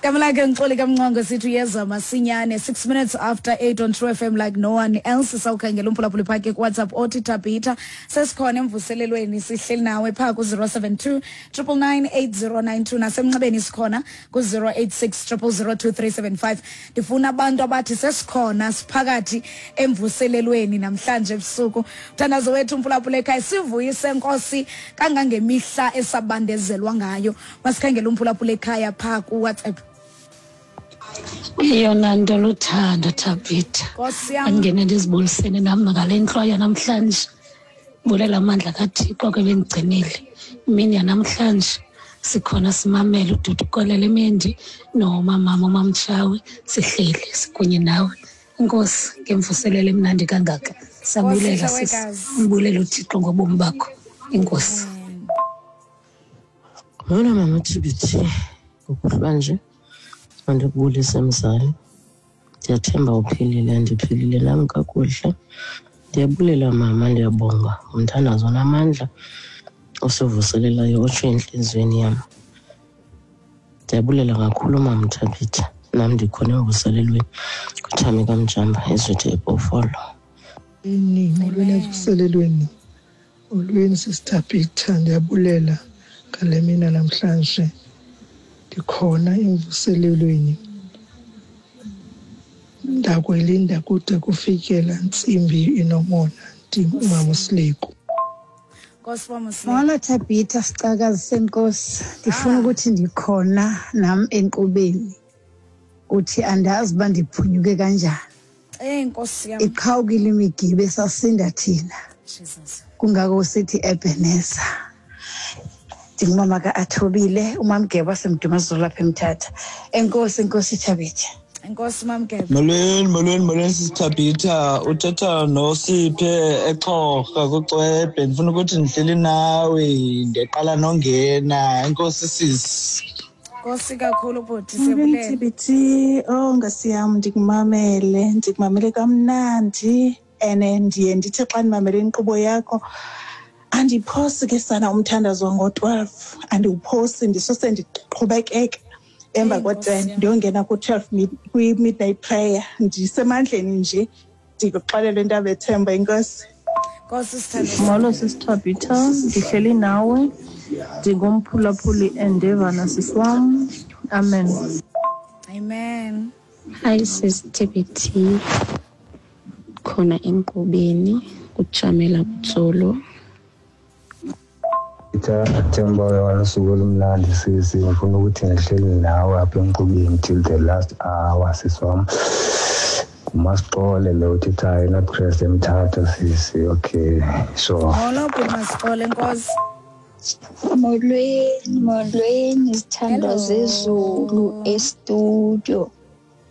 Gama lakhe ngixoli kamncwango sithi uyeza masinyane 6 minutes after 8 on True FM like no one else. Sawukhangela umphulaphuli phake kuWhatsApp othi Tabitha sesikhona emvuselelweni sihleli nawe phaa ku-072 999 8092 nasemnxebeni sikhona ku-086 0002375. Ndifuna abantu abathi sesikhona siphakathi emvuselelweni namhlanje ebusuku. Mthandazo wethu umphulaphula ekhaya sivuyise Nkosi kangangemihla esabandezelwa ngayo. Masikhangele umphulaphula ekhaya phaa kuWhatsApp. Eyona nto luthando Thabitha. Nkosi yam. Andingene ndizibulisene nam ngale ntloya namhlanje. Bulela amandla kaThixo ke bendigcinile. Imini yanamhlanje sikhona simamele uDudu Kolele Mendi nomamama uMamtshawe sihleli sikunye nawe. Inkosi ngemvuselelo emnandi kangaka. Sabulela Nkosi, sisi. Hlawekazi. Mbulela uThixo ngobomi bakho. Inkosi. Molo mama TBT, ngokuhlwa nje mandikubulise mzali. Ndiyathemba uphilile, ndiphilile nam kakuhle. Ndiyabulela mama, ndiyabonga ngomthandazo onamandla osivuselelayo otsho entliziyweni yam. Ndiyabulela kakhulu mama Thabitha, nam ndikhona emvuselelweni kuThami kaMjamba ezithi eBhofolo. Molweni, molweni evuselelweni. Molweni Sister Peter, ndiyabulela ngale mina namhlanje. Ndikhona emvuselelweni. Ndakwelinda kude kufike laa ntsimbi inomona. Ndim umama uSileku. Nkosi mama Sileku. Molo Thabitha, sicakazi senkosi. Ndifuna ukuthi ndikhona nam enkqubeni. Uthi andazi uba ndiphunyuke kanjani. Eyi Nkosi yam. Iqhawukile imigibe sasinda thina. Jesus. Kungako sithi Ebeneza. Ndingumama ka-Athobile, umamgeba wasemdumazulu apha eMthatha. Enkosi, enkosi Thabitha. Enkosi mamgeba. Molweni, molweni, molweni sisithabitha. Uthetha noSiphe eXhorha kuCwebhe. Ndifuna ukuthi ndihleli nawe, ndiqala nongena. Enkosi sisi. Nkosi kakhulu bhuti Molweni siyabulela. TBT, oh Nkosi yam ndikumamele, ndikumamele kamnandi and ndiye ndithi xa ndimamele inkqubo yakho andiphosi ke sana umthandazo ngo-12, andiwuphosi ndisose ndiqhubekeke emva Eyi, Nkosi ko-10 yam. ndiyongena ku-12 kwi-midnight prayer. Ndisemandleni nje ndikuxelele into abethemba inkosi. Nkosi sithandwa. Molo sisiThabitha, ndihleli nawe ndingumphulaphuli endevana sisi wam. Amen. Amen. Hi sis TBT, khona enkqubeni kuJamela Butsolo. Themba wanosuku olumnandi sisi, ngifuna ukuthi ngihleli nawe apha enkqubeni till the last hour sisi wam. Ngumasixole lo uthethayo eNorthcrest eMthatha sisi. Okay, sure. Molo bhuti Masixole Nkosi. Molweni, molweni zithandwa Hello. zezulu estudio.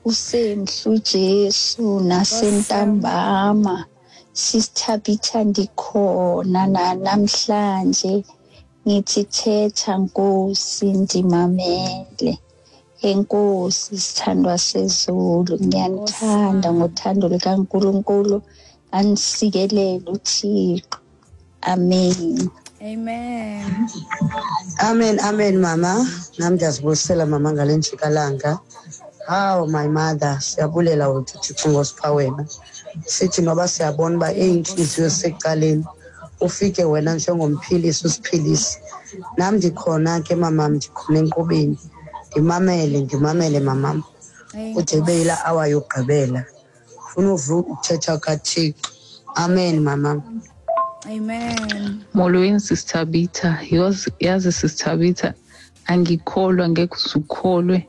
Usemhle uJesu nasentambama. Sisithabitha ndikhona namhlanje. Ngithi thetha Nkosi ndimamele. Enkosi sithandwa sezulu, ngiyanithanda ngothando likaNkulunkulu. Anisikelele uThixo. Amen. Amen. Amen, amen mama. Nam ndiyazibulisela mama ngale njikalanga. How my mother, siyabulela wethu Thixo ngosipha wena. Sithi noba siyabona uba iintliziyo zisecaleni, ufike wena njengomphilisi usiphilise. Nam ndikhona ke mamam, ndikhona enkqubeni. Ndimamele, ndimamele mamam. Kude ibe yilaa hour yokugqibela. Funa uva ukuthetha kaThixo. Amen mamam. Amen. Molweni sisiThabitha, yazi sisiThabitha angikholwa ngeke uzukholwe.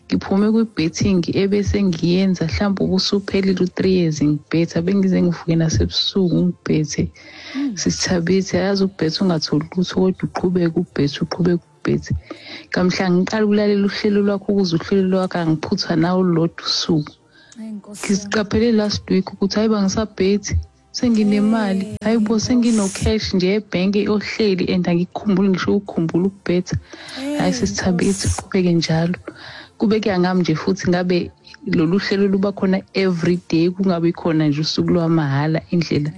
Ngiphume kwi-betting ebese ngiyenza mhlawumbe ubusuphelile u-3 years ngibhetha, bengize ngivuke nasebusuku ngibhethe. Sisithabitha yazi ukubhetha ungatholi lutho kodwa uqhubeke ubhethe, uqhubeke ubhethe. Kamhla ngiqala ukulalela uhlelo lwakho ukuze uhlelo lwakho angiphuthwa nawe olulodwa usuku. Ngisiqaphele last week ukuthi hayi bangisabhethi, senginemali, hayi bo sengino-cash nje ebhenki ohleli and angikukhumbuli ngisho ukukhumbula ukubhetha. Hayi sisithabitha, uqhubeke njalo. Kube kuya ngami nje futhi ngabe lolu hlelo luba khona every day, kungabi khona nje usuku lwamahhala indlela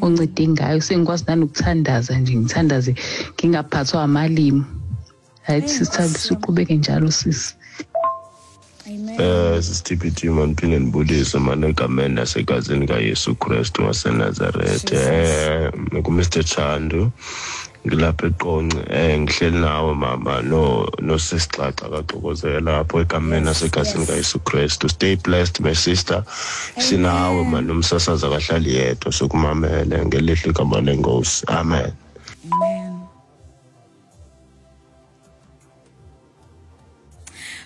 oncede ngayo. Sengikwazi nanokuthandaza nje, ngithandaze ngingaphathwa amalimi. Hayi sisithabitha, uqhubeke njalo sisi. Amen. Sisithiphithi mandiphinde ndibulise mani egameni nasegazini kaYesu Kristu waseNazaretha. NguMr Chandu ngilapha eQonce. Ngihleli nawe mama no nosisixaxa kaXokozela apho egameni nasegazini kaYesu Kristu. Stay blessed my sister. Sinawe mani, umsasazi akahlali yedwa, sokumamele ngelihle igama lenkosi. Amen. Amen.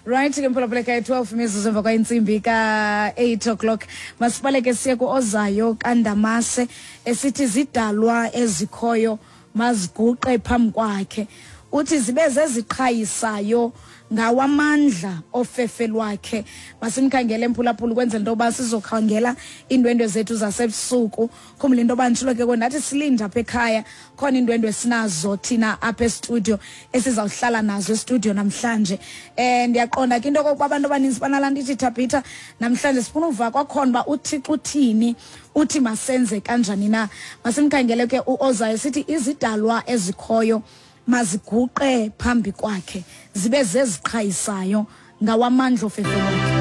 Right ke mphulaphula ekhaya, 12 mizuzu emva kwentsimbi ka-8 o'clock. Masibaleke siye ku-ozayo kaNdamase esithi zidalwa ezikhoyo maziguqe phambi kwakhe. Uthi zibe zeziqhayisayo ngawamandla ofefe lwakhe. Masimkhangele emphulaphula ukwenzela into yoba sizokhangela iindwendwe zethu zasebusuku. Khumbula into yoba nditshilo ke ndathi silinde apha ekhaya, khona iindwendwe sinazo thina apha estudio esizawuhlala nazo estudio namhlanje. Ndiyaqonda ke into okokuba abantu abaninzi banalaa nto ithi Thabitha, namhlanje sifuna uva kwakhona uba uThixo uthini, uthi masenze kanjani na. Masimkhangele ke uOzayo sithi izidalwa ezikhoyo maziguqe phambi kwakhe, zibe zeziqhayisayo ngawamandla ofefe lwakhe.